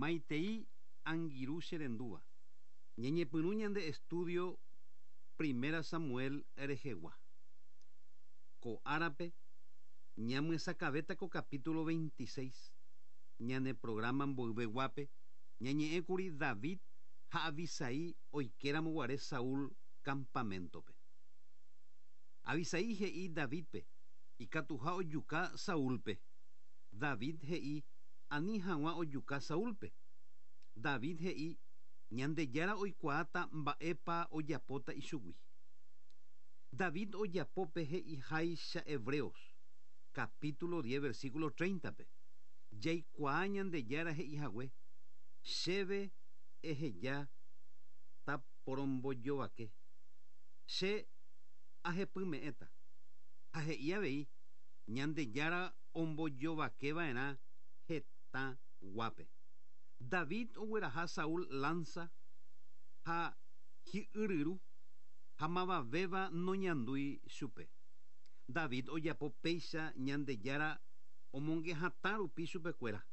Maitei angirũ che rendúva. Ñañepyrũ ñande estudio Primera Samuel rehegua. Ko árape ñamyesakãvéta ko capítulo 26. Ñane programa mboyveguápe ñañe'ẽkuri David ha Abisai oikéramo guare Saúl campamento-pe. Abisai he'i Davídpe ikatuha ojuka Saúlpe. David he'i ani hag̃ua ojuka Saúlpe. David he'i, Ñandejára oikuaáta mba'épa ojapóta ichugui. David ojapo pe he'iháicha Hebreos, capítulo diez versículo treinta-pe, Jaikuaa Ñandejára he'ihague, Chéve eheja taporombojovake, che ahepyme'ẽta. Ha he'i avei, Ñandejára ombojovake va'erã hetã guápe. David ogueraha Saúl lánsa ha hi'yryru, ha mavavéva noñandúi chupe. David ojapo péicha Ñandejára omonge hatã rupi chupekuéra.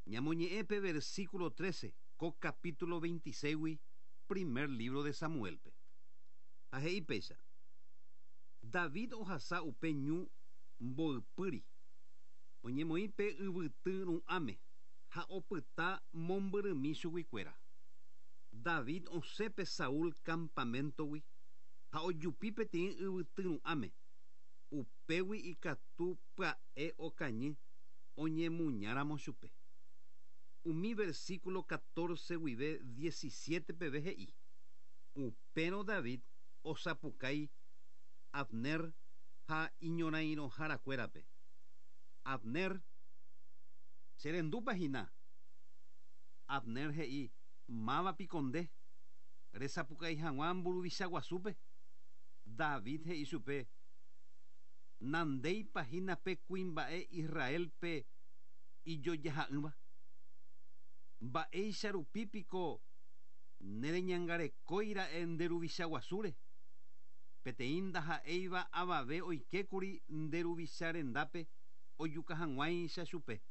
Ñamoñe'ẽ pe versículo trece ko capítulo veintiséigui primer lívro de Samuélpe. Ha he'i péicha, David ohasa upe ñu mboypýri, oñemoĩ pe yvyty ru'ãme ha opyta mombyrymi chuguikuéra. David osẽ pe Saúl kampaméntogui ha ojupi peteĩ yvyty ru'ãme, upégui ikatu pya'e okañy oñemuñáramo chupe. Umi versíkulo catorce guive diecisiete peve he'i, Upérõ David osapukái Abner ha iñorãirõharakuérape, Abner, che rendúpa hína? Abner he'i, Máva piko nde, resapukái hag̃ua mburuvicha guasúpe? David he'i chupe, Nandéipa hína pe kuimba'e Israélpe ijojaha'ỹva? Mba'éicha rupi piko nereñangarekói ra'e nde ruvicha guasúre? Peteĩ ndaha'éiva avave oikékuri nde ruvicha rendápe ojuka hag̃uáicha chupe.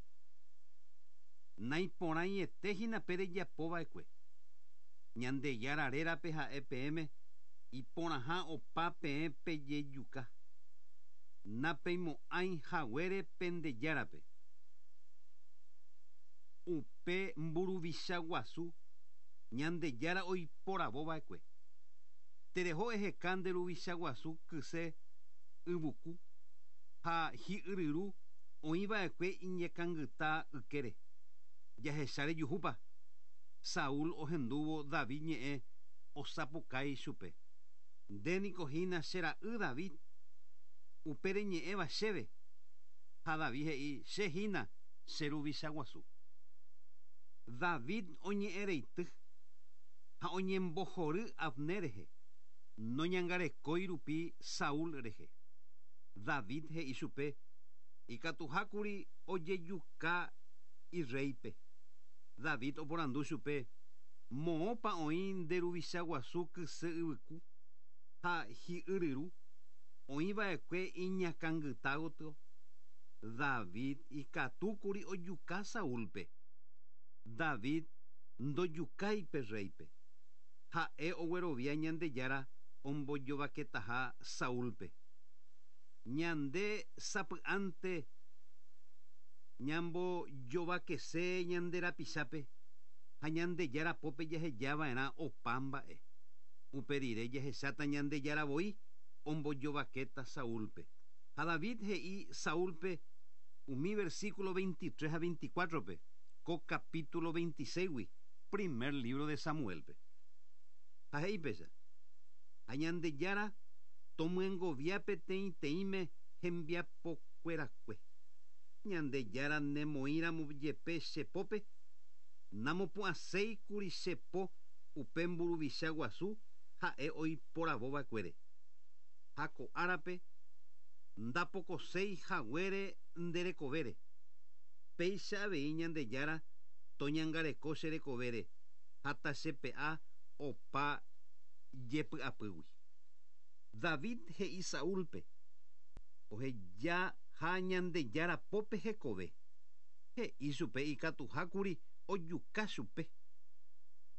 Naiporãiete hína pe rejapo va'ekue. Ñandejára rérape ha'e peẽme iporãha opa peẽ pejejuka. Napeimo'ãi haguére pende Járape. Upe mburuvicha guasu Ñandejára oiporavo va'ekue. Tereho eheka nde ruvicha guasu kyse yvuku ha hi'yryru oĩ va'ekue iñekangyta ykére. Jahecha rejuhúpa? Saúl ohendúvo David ñe'ẽ osapukái chupe, Nde niko hína che ra'y David, upe reñe'ẽva chéve. Ha David he'i, Che hína che ruvicha guasu. David oñe'ẽreity ha oñembohory Abner rehe, noñangarekói rupi Saúl rehe. David he'i chupe ikatuhákuri ojejuka irréipe. David oporandu chupe, Moõpa oĩ nde ruvicha guasu kyse yvyku ha hi'yryru, oĩ va'ekue iñakãngyta gotyo? David ikatúkuri ojuka Saúlpe. David ndojukái pe rréipe. Ha'e oguerovia Ñandejára ombojovaketaha Saúlpe. Ñande sapy'ánte ñambojovakese ñande rapichápe ha Ñandejára pópe jaheja va'erã opa mba'e. Upe rire jahecháta Ñandejára voi ombojovakéta Saúlpe. Ha David he'i Saúlpe umi versículo veintitrés ha veinticuátrope ko capítulo veintiséisgui primer lívro de Samuélpe. Ha he'i péicha, Ha Ñandejára tomyengovia peteĩteĩme hembiapokuerakue. Ñandejára nemoĩramo jepe che pópe, namopu'ãséikuri che po upe mburuvicha guasu ha'e oiporavova'ekuére. Ha ko árape ndapokoséi haguére nde rekovére. Péicha avei Ñandejára toñangareko che rekovére ha tachepe'a opa jepy'apýgui. David he'i Saúlpe ohejaha Ñandejára pópe hekove. He'i chupe ikatuhákuri ojuka chupe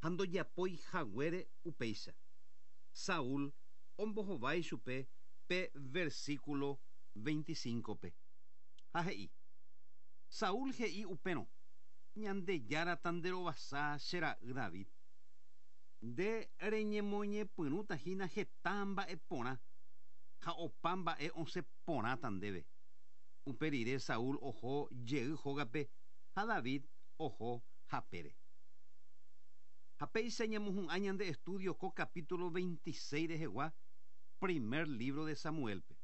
ha ndojapói haguére upéicha. Saúl ombohovái chupe pe versículo 25-pe. Ha he'i: Saúl he'i upérõ, Ñandejára tanderovasa che ra'y David. Nde reñemoñepyrũta hína heta mba'e porã ha opa mba'e osẽ porãta ndéve. Upe rire Saúl oho jey hógape ha David oho hapére. Ha péicha ñamohu'ã ñande estudio ko capítulo 26 rehegua primer libro de Samuel-pe.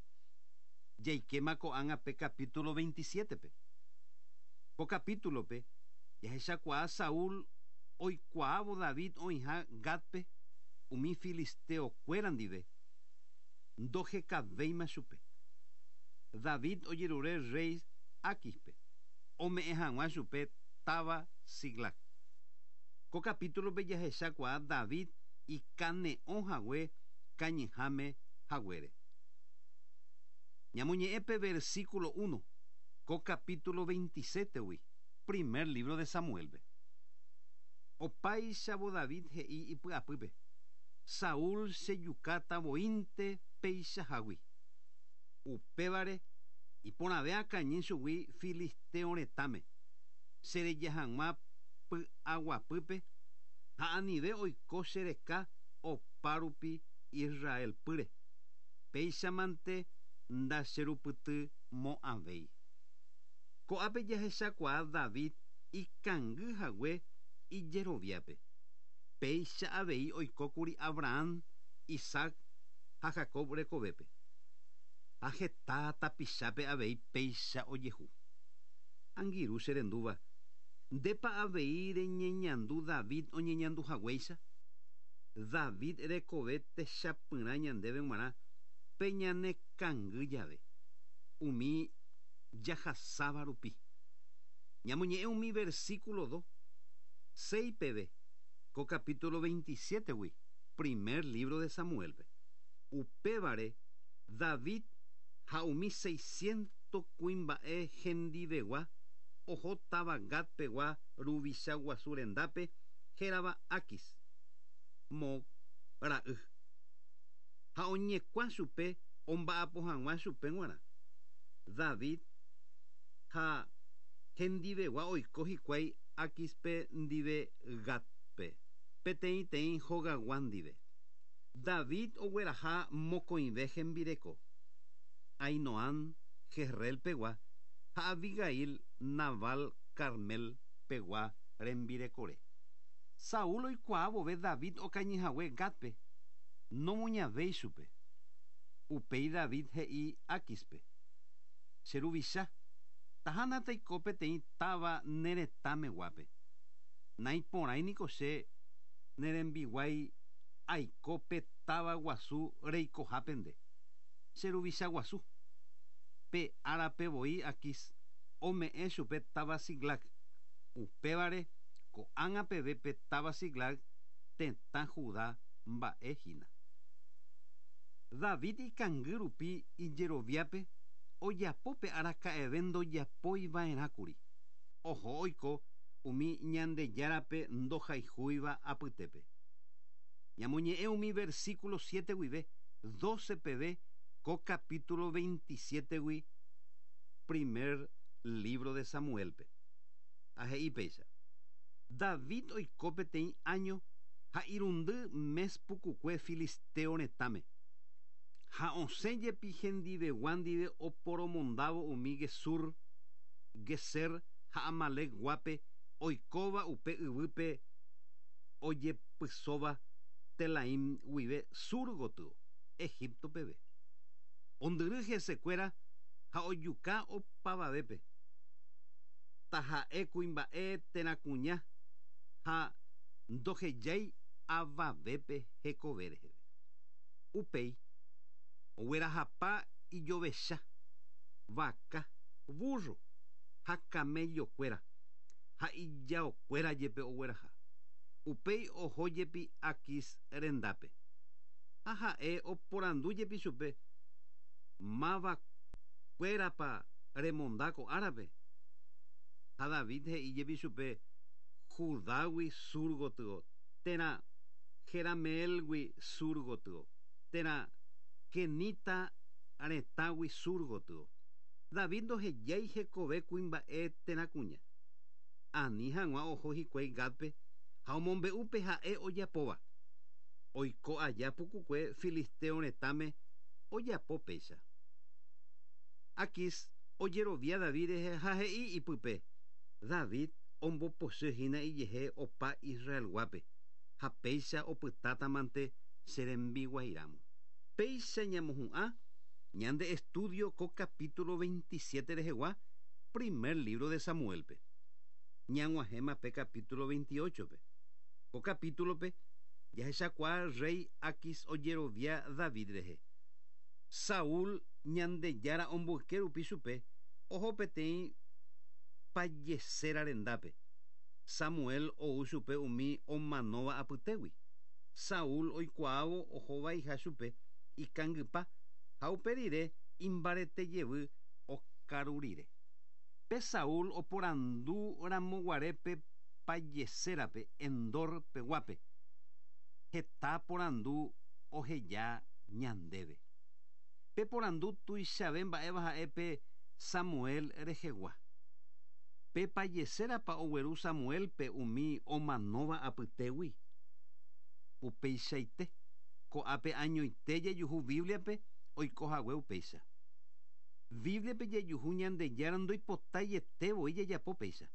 Jaikéma ko'ág̃a pe capítulo 27-pe. Ko capítulo-pe jahechakuaa Saúl oikuaávo David oĩha Gátpe umi filisteo-kuéra ndive, ndohekavéima chupe. David ojerure rréi Áquispe ome'ẽ hag̃ua chupe táva Siclag. Ko capítulo-pe jahechakuaa David ikane'õ hague kañyháme haguére. Ñamoñe'ẽ pe versículo uno ko capítulo 27-gui primer libro de Samuel-pe. Opáichavo David he'i ipy'apýpe, Saúl chejukáta voínte peichahágui. Upévare, iporãve akañy chugui filistéo retãme, chereja hag̃ua py'aguapýpe ha anive oiko che reka opárupi Israel pýre. Péichamante ndacherupytymo'ãvéi. Ko'ápe jahechakuaa David ikangy hague ijeroviápe. Péicha avei oikókuri Abraham, Isaac ha Jacob rekovépe. Ha heta tapichápe avei péicha ojehu. Angirũ che rendúva, ndépa avei reñeñandu David oñeñandu haguéicha? David rekove techapyrã ñandéve g̃uarã pe ñane kangy jave, umi jahasáva rupi. Ñamoñe'ẽ umi versículo do, seis peve ko capítulo 27-gui primer libro de Samuel-pe. Upévare David ha umi seiscientos kuimba'e hendivegua oho táva Gat pegua ruvicha guasu rendápe hérava Aquis, Moc ra'y, ha oñekuã chupe omba'apo hag̃ua chupe g̃uarã. David ha hendivegua oiko hikuái Aquispe ndive Gatpe, peteĩteĩ hogagua ndive. David ogueraha mokõive hembireko, Ahinoam Jezreel pegua ha Abigail Nabal Carmel pegua rembirekore. Saúl oikuaa vove David okañy hague Gátpe, nomuñavéi chupe. Upéi David he'i Áquispe, Che ruvicha, tahána taiko peteĩ táva ne retã meguápe. Naiporãi niko che ne rembiguái aiko pe táva guasu reikohápe nde, che ruvicha guasu. Pe árape voi Aquis ome'ẽ chupe táva Siclag. Upévare ko'ág̃a peve pe táva Siclag tetã Judá mba'e hína. David ikangy rupi ijeroviápe ojapo pe araka'eve ndojapói va'erã kuri. Oho oiko umi Ñandejárape ndohayhúiva apytépe. Ñamoñe'ẽ umi versículo siete guive doce peve ko capítulo 27-gui primer libro de Samuel-pe. Ha he'i péicha, David oiko peteĩ áño ha irundy mes pukukue filistéo retãme, ha osẽ jepi hendivegua ndive oporomondávo umi Gesur, Gezer ha Amalec guápe oikóva upe yvýpe ojepysóva Telaim guive sur gotyo, Egipto peve. Ondyry hesekuéra ha ojuka opavavépe, taha'e kuimba'e térã kuña ha ndohejái avavépe hekove reheve. Upéi, oguerahapa ijovecha, vaka, vúrro ha kamellokuéra, ha ijaokuéra jepe ogueraha. Upéi oho jepi Aquis rendápe. Ha ha'e oporandu jepi chupe, Máva kuérapa remonda ko árape? Ha Ha David he'i jepi chupe, Judágui sur gotyo, térã Jerameélgui sur gotyo, térã Quenita retãgui sur gotyo. David ndohejái hekove kuimba'e térã kuña. Ani hag̃ua oho hikuái Gátpe ha omombe'u pe ha'e ojapóva. Oiko aja pukukue filisteo retãme ojapo péicha. Aquís ojerovia David rehe ha he'i ipype, David ombopochy hína ijehe opa Israelguápe, ha péicha opytátamante che rembiguairamo. Péicha ñamohu'ã ñande estudio ko capítulo 27 rehegua primer libro de Samuelpe. Ñag̃uahẽma pe capítulo 28-pe. Ko capítulope jahechakuaa rey Aquís ojerovia David rehe. Saúl Ñandejára omboyke rupi chupe oho peteĩ pajeséra rendápe. Samuel ou chupe umi omanóva apytégui. Saúl oikuaávo oho vaiha chupe ikangypa ha upe rire imbarete jevy okaru rire. Pe Saúl oporandu ramo guare pe pajesérape Endor peguápe, heta porandu oheja ñandéve. Pe porandu tuichave mba'éva ha'e pe Samuel rehegua. Pe pajesérapa ogueru Samuélpe umi omanóva apytégui? Upeichaite, ko'ápe añoite jajuhu Bíbliape oiko hague upéicha. Bíbliape jajuhu Ñandejára ndoipotaiete voi jajapo péicha.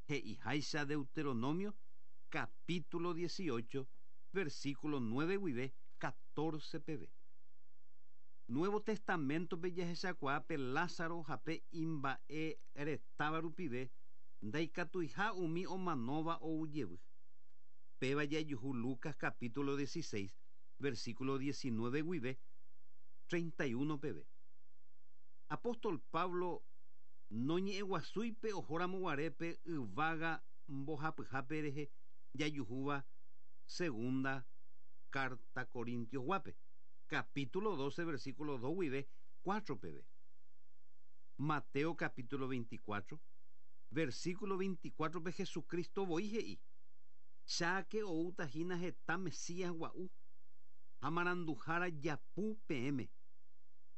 He'iháicha Deuteronomio capítulo 18, versículo 9 guive 14 peve. Nuevo Testamentope jahechakuaa pe Lázaro ha pe imba'e retáva rupive ndaikatuiha umi omanóva ou jevy. Péva jajuhu Lucas capítulo 16, versículo 19 guive 31 peve. Apóstol Pablo noñe'ẽguasúi pe ohóramo guare pe yvága mbohapyhápe rehe jajuhúva segunda carta Corintios guápe, capítulo 12, versículo 2 guive 4 peve. Mateo capítulo 24, versículo 24 pe Jesucristo voi he'i, Cháke oúta hína heta Mesías gua'u ha maranduhára japu peẽme,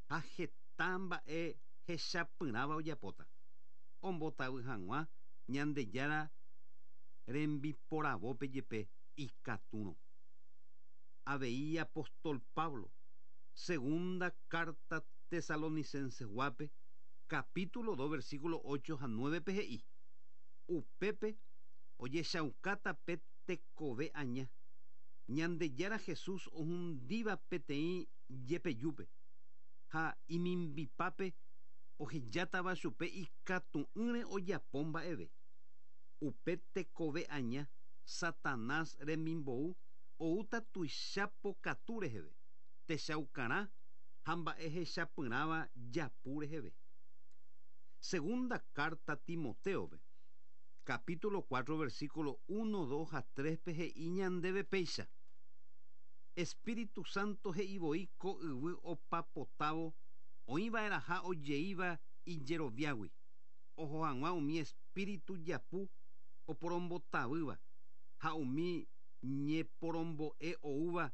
ha heta mba'e hechapyrãva ojapóta, ombotavy hag̃ua Ñandejára rembiporavópe jepe ikatúrõ. Avei apóstol Pablo, segunda carta Tesalonicenses guápe, capítulo 2, versículo 8 ha 9 pe he'i, Upépe ojechaukáta pe tekove aña, Ñandejára Jesús ohundíva peteĩ jepejúpe, ha imimbipápe ohejátava chupe ikatu'ỹre ojapo mba'eve. Upe tekove aña, Satanás remimbou oúta tuicha pokatu reheve, techaukarã ha mba'e hechapyrãva japu reheve. Segunda carta Timotéope, capítulo 4, versículo 1, 2 ha 3 pe he'i ñandéve péicha, Espíritu Santo he'i voi ko yvy opapotávo oĩva'erãha ojeíva ijeroviágui, oho hag̃ua umi espíritu japu oporombotavýva ha umi ñeporombo'e oúva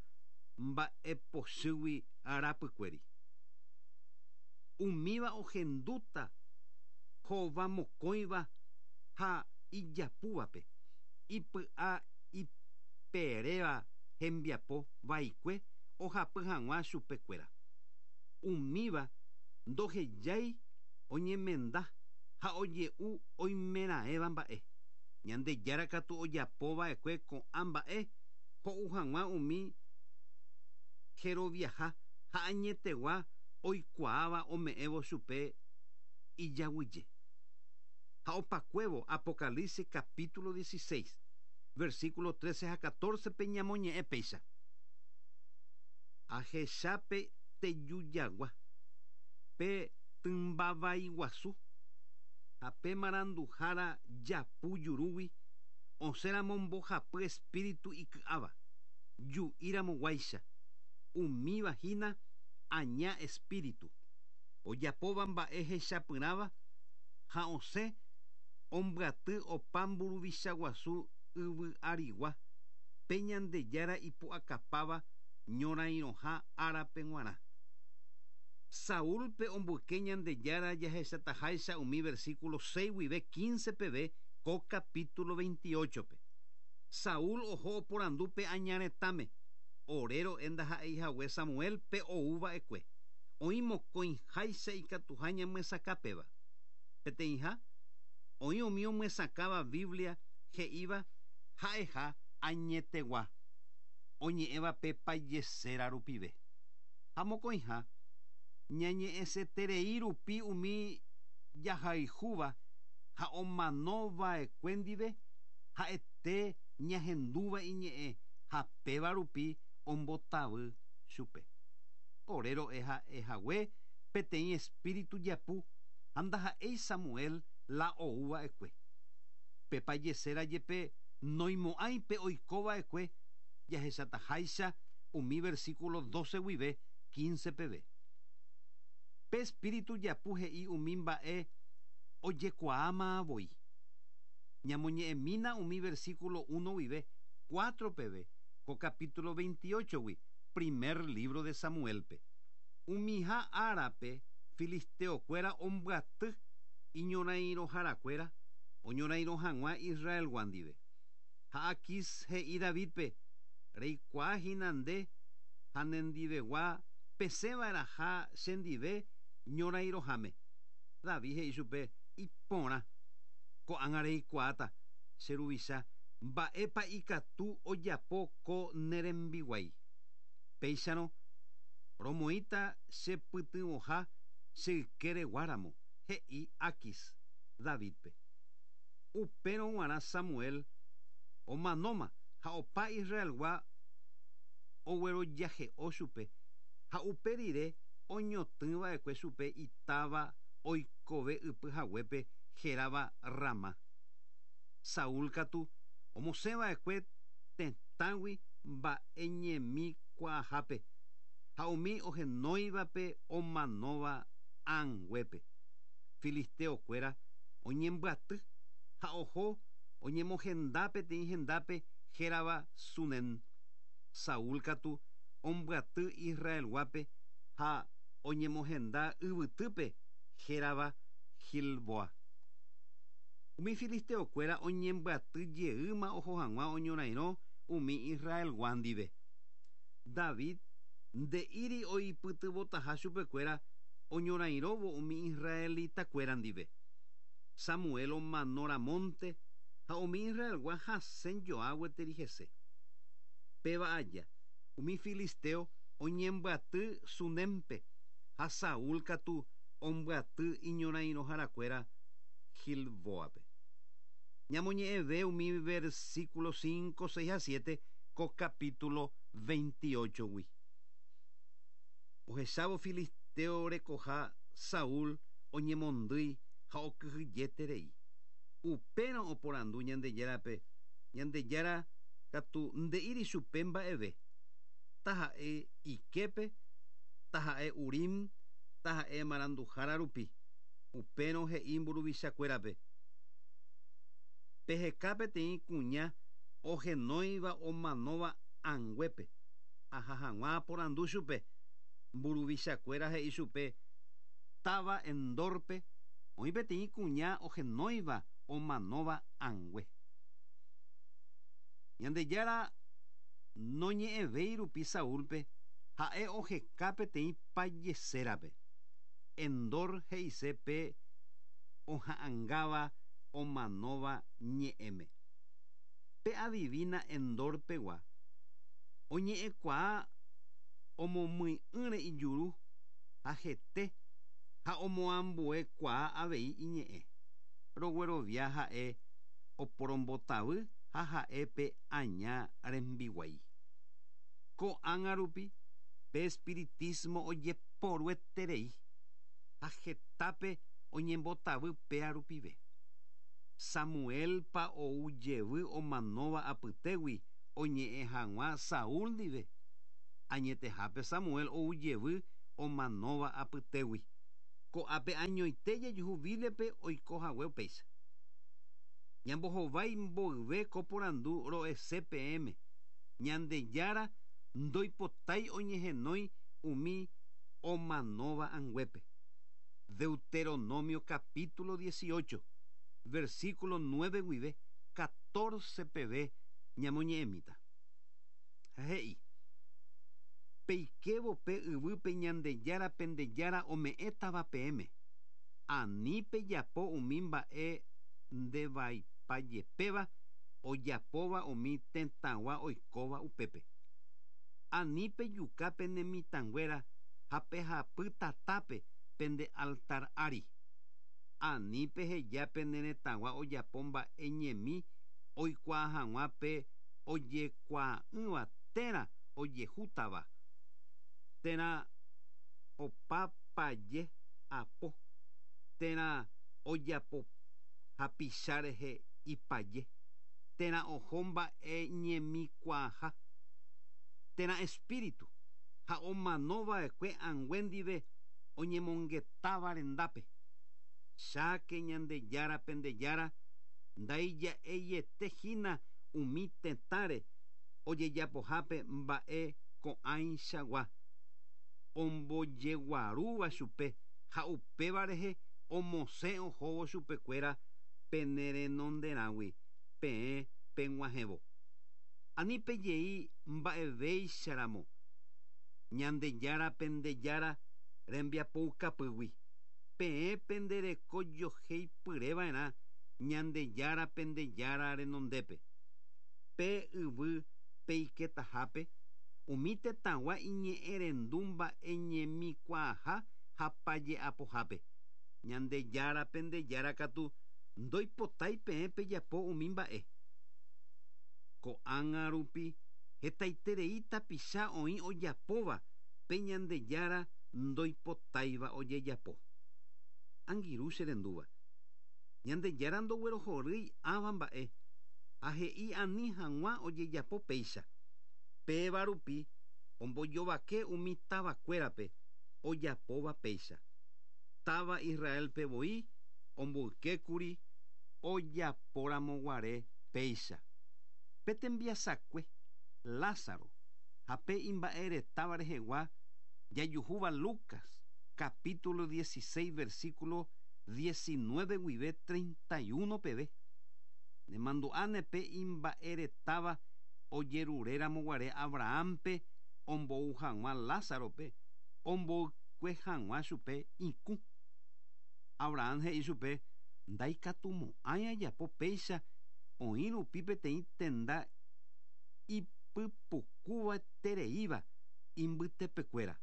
mba'epochýgui rapykuéri. Umíva ohendúta hova mokõiva ha ijapúvape, ipy'a iperéva hembiapo vaikue ohapy hag̃ua chupekuéra. Umíva ndohejái oñemenda ha oje'u oimeraẽva mba'e. Ñandejára katu ojapo va'ekue ko'ã mba'e ho'u hag̃ua umi jeroviaha ha añetegua oikuaáva ome'ẽvo chupe ijaguyje. Ha opakuévo Apocalipsis capítulo 16, versículo 13 ha 14 pe ñamoñe'ẽ péicha. Ahecha pe tejujagua, pe tymba vai guasu ha pe maranduhára japu jurúgui osẽramo mbohapy espíritu iky'áva, ju'íramo guáicha, umíva hína aña espíritu, ojapóva mba'e hechapyrãva ha osẽ Ombyaty opa mburuvicha guasu yvy arigua, pe Ñandejára ipu'akapáva ñorairõha árape g̃uarã. Saúlpe omboyke Ñandejára jahechataháicha umi versículo 6 guive 15 peve ko capítulo 28-pe. Saúl oho oporandu pe aña retãme, Ore ro'e ndaha'eihague Samuel pe ou va'ekue. Oĩ mokõiháicha ikatuha ñamyesakã péva. Peteĩha, oĩ umi omyesakãva Biblia he'íva ha'eha añetegua, oñe'ẽva pe pajeséra rupive. Ha mokõiha, ñañe'ẽseterei rupi umi jahayhúva ha omano va'ekue ndive ha'ete ñahendúva iñe'ẽ ha péva rupi ombotavy chupe. Ore ro'e ha'e hague peteĩ espíritu japu ha ndaha'éi Samuel la ou va'ekue. Pe pajeséra jepe noimo'ãi pe oiko va'ekue jahechataháicha umi versículo 12 guive 15 peve. Pe espíritu japu he'i umi mba'e ojekuaáma voi. Ñamoñe'ẽmína umi versículo 1 guive 4 peve ko capítulo 28-gui primer libro de Samuel-pe. Umiha árape filisteo-kuéra ombyaty iñorairõharakuéra oñorairõ hag̃ua Israelgua ndive. Ha Aquis he'i Davídpe, Reikuaa hína nde ha nendivegua pesẽva'erãha chendive ñorairõháme. David he'i chupe, Iporã. Ko'ág̃a reikuaáta, che ruvicha, mba'épa ikatu ojapo ko ne rembiguái. Péicharõ, romoĩta che pytyvõha che ykére guáramo, he'i Aquis Davídpe. Upérõ g̃uarã Samuel omanóma ha opa Israelgua oguerojahe'o chupe, ha upe rire oñotỹ va'ekue chupe itáva oikove ypy haguépe hérava Ramá. Saúl katu omosẽ va'ekue tetãgui mba'e ñemi kuaahápe ha umi ohenóivape omanóva ãnguépe. Filisteo kuéra oñembyaty ha oho oñemohenda peteĩ hendápe hérava Sunem. Saúl katu ombyaty Israelguápe ha oñemohenda yvytýpe hérava Gilboa. Umi filisteo kuéra oñembyaty jeýma oho hag̃ua oñorairõ umi Israelgua ndive. David nde'íri oipytyvõtaha chupekuéra oñorairõvo umi israelita-kuéra ndive. Samuel omano ramónte ha umi Israelgua hasẽ joa gueteri hese. Péva aja, umi filisteo oñembyaty Sunémpe ha Saúl katu ombyaty iñorairõharakuéra Gilbóape. Ñamoñe'ẽve umi versículo 5, 6 ha 7 ko capítulo 28-gui. Ohechávo filisteo rekoha Saúl oñemondýi ha okyhyjeterei. Upérõ oporandu Ñandejárape, Ñandejára katu nde'íri chupe mba'eve, taha'e iképe, taha'e Urim, taha'e maranduhára rupi. Upérõ he'i mburuvichakuérape, Peheka peteĩ kuña ohenóiva omanóva ãnguépe, aha hag̃ua aporandu chupe. Mburuvichakuéra he'i chupe, Táva Endórpe oĩ peteĩ kuña ohenóiva omanóva ãngue. Ñandejára noñe'ẽvéi rupi Saúlpe, ha'e oheka peteĩ pajesérape. Endor he'ise pe oha'angáva omanóva ñe'ẽme. Pe adivina Endor pegua oñe'ẽkuaa omomyi'ỹre ijuru ha hete ha omoambuekuaa avei iñe'ẽ. Roguerovia ha'e oporombotavy ha ha'e pe aña rembiguái. Ko'ág̃a rupi pe espiritísmo ojeporueterei ha hetápe oñembotavy péa rupive. Samuelpa ou jevy omanóva apytégui oñe'ẽ hag̃ua Saúl ndive? Añetehápe Samuel ou jevy omanóva apytégui. Ko'ápe añoite jajuhu Bíbliape oiko hague upéicha. Ñambohovái mboyve ko porandu ro'ese peẽme, Ñandejára ndoipotái oñehenói umi omanóva anguépe. Deuteronomio capítulo 18, versículo 9 guive 14 peve ñamoñe'ẽmíta. Ha he'i, Peikévo pe yvýpe Ñandejára pende Jára ome'ẽtava peẽme, ani pejapo umi mba'e ndevaipajepéva ojapóva umi tetãgua oikóva upépe. Ani pejuka pene mitãnguéra ha pehapy tatápe pende altar ári. Ani peheja pene retãgua ojapo mba'e ñemi oikuaa hag̃ua pe ojekuaa'ỹva térã ojehútava, térã opa paje apo, térã ojapo hapicha rehe ipaje, térã oho mba'e ñemikuaaha, térã espíritu, ha omano va'ekue angue ndive oñemongetáva rendápe. Cháke Ñandejára pende Jára ndaija'eiete hína umi tetãre ojejapohápe mba'e ko'ãichagua ombojeguarúva chupe ha upéva rehe omosẽ ohóvo chupekuéra pene renonderãgui peẽ peg̃uahẽvo. Ani pejei mba'evéicharamo Ñandejára pende Jára rembiapoukapýgui, peẽ pende reko joheipyreva'erã Ñandejára pende Jára renondépe. Pe yvy peiketahápe, umi tetãgua iñe'ẽrendu mba'eñemikuaaha ha paje'apohápe. Ñandejára pende Jára katu ndoipotái peẽ pejapo umi mba'e. Ko'ág̃a rupi hetaiterei tapicha oĩ ojapóva pe Ñandejára ndoipotáiva ojejapo. Angirũ che rendúva, Ñandejára ndoguerohorýi ãva mba'e ha he'i ani hag̃ua ojejapo péicha. Péva rupi ombojovake umi tavakuérape ojapóva péicha. Táva Israélpe voi omboykékuri ojaporamoguare péicha. Pe tembiasakue, Lázaro, ha pe imba'eretáva rehegua jajuhúva Lucas, capítulo 16, versículo 19 guive 31 peve. Nemandu'áne pe imba'eretáva ojerureramoguare Abrahámpe ombou hag̃ua Lázarope omboykue hag̃ua chupe ikũ. Abraham he'i chupe, Ndaikatumo'ãi ajapo péicha oĩ rupi peteĩ tenda ipypukuvaitereíva imbytepekuéra.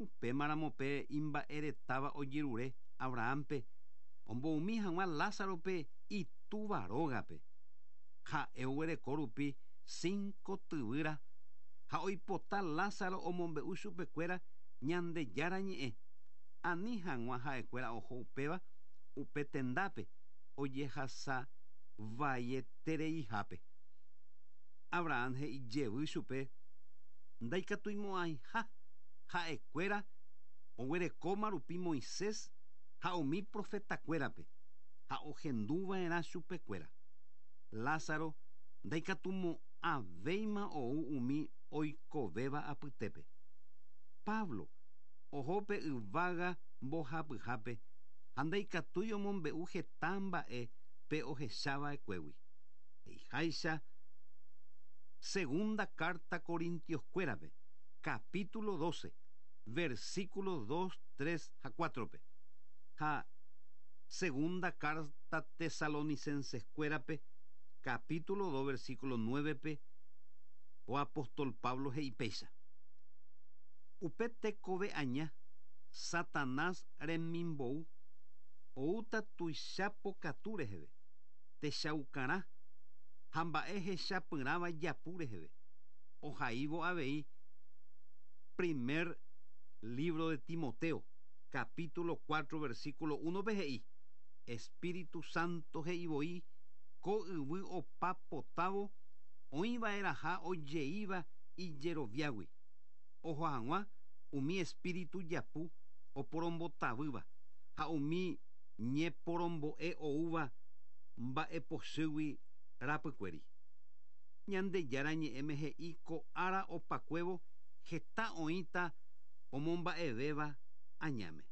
Upémaramo pe imba'eretáva ojerure Abrahámpe omboumi hag̃ua Lázarope itúva rógape. Ha'e oguereko rupi cinco tyvýra ha oipota Lázaro omombe'u chupekuéra Ñandejára Ñe'ẽ, ani hag̃ua ha'ekuéra oho upéva upe tendápe ojehasa vaietereihápe. Abraham he'i jevy chupe ndaikatuimo'ãiha ha'ekuéra oguerekóma rupi Moisés ha umi profetakuérape ha ohenduva'erã chupekuéra. Lázaro ndaikatumo'ãvéima ou umi oikovéva apytépe. Pablo oho pe yvága mbohapyhápe ha ndaikatúi omombe'u heta mba'e pe ohechava'ekuégui. He'iháicha Segunda carta Corintios-kuérape, capítulo 12, versículo 2, 3 ha 4-pe, ha Segunda carta Tesalonicenses-kuérape, capítulo 2, versículo 9-pe, ko apóstol Pablo he'i péicha, Upe tekove aña, Satanás remimbou, oúta tuicha pokatu reheve, techaukarã ha mba'e hechapyrãva japu reheve, ohaívo avei primer lívro de Timoteo, capítulo 4, versículo 1-pe he'i, Espíritu Santo he'i voi ko yvy opa potávo oĩva'erãha ojeíva ijeroviágui, oho hag̃ua umi espíritu japu oporombotavýva ha umi ñeporombo'e oúva. Mba'epochýgui rapykuéri. Ñandejára Ñe'ẽme he'i ko ára opakuévo heta oĩta omomba'evéva añáme.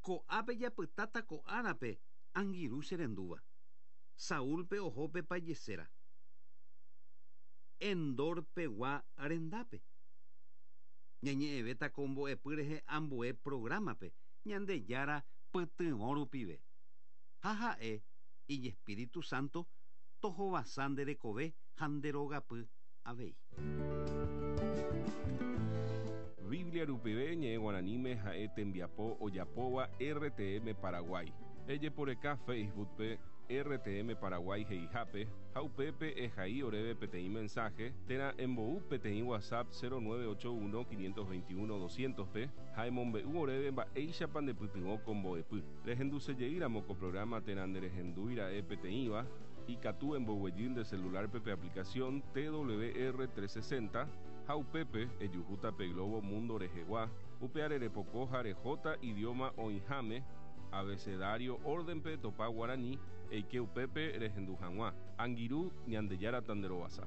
Ko'ápe japytáta ko árape angirũ che rendúva. Saúlpe oho pe pajeséra. Endor pegua rendápe. Ñañe'ẽvéta ko mbo'epy rehe ambue prográmape Ñandejára pytyvõ rupive. Ha ha'e Ijespíritu Santo tohovasa nde rekove ha nde rogapy avei. Biblia rupive ñe'ẽ guaraníme ha'e tembiapo ojapóva RTM Paraguay. Ejeporeka Facebook-pe RTM Paraguay he'ihápe ha upépe ehai oréve peteĩ mensaje térã embou peteĩ WhatsApp 0981 521 200-pe ha emombe'u oréve mba'éichapa ndepytyvõ ko mbo'epy. Rehendusejeýramo ko programa térã nderehendúi ra'e peteĩva, ikatu emboguejy nde celular-pe pe aplicación TWR 360 ha upépe ejuhúta pe globo mundo rehegua, upeare repoko ha rehóta idioma oĩháme, abecedario orden-pe etopa guarani, eike upépe rehendu hag̃ua. Angirũ, Ñandejára tanderovasa.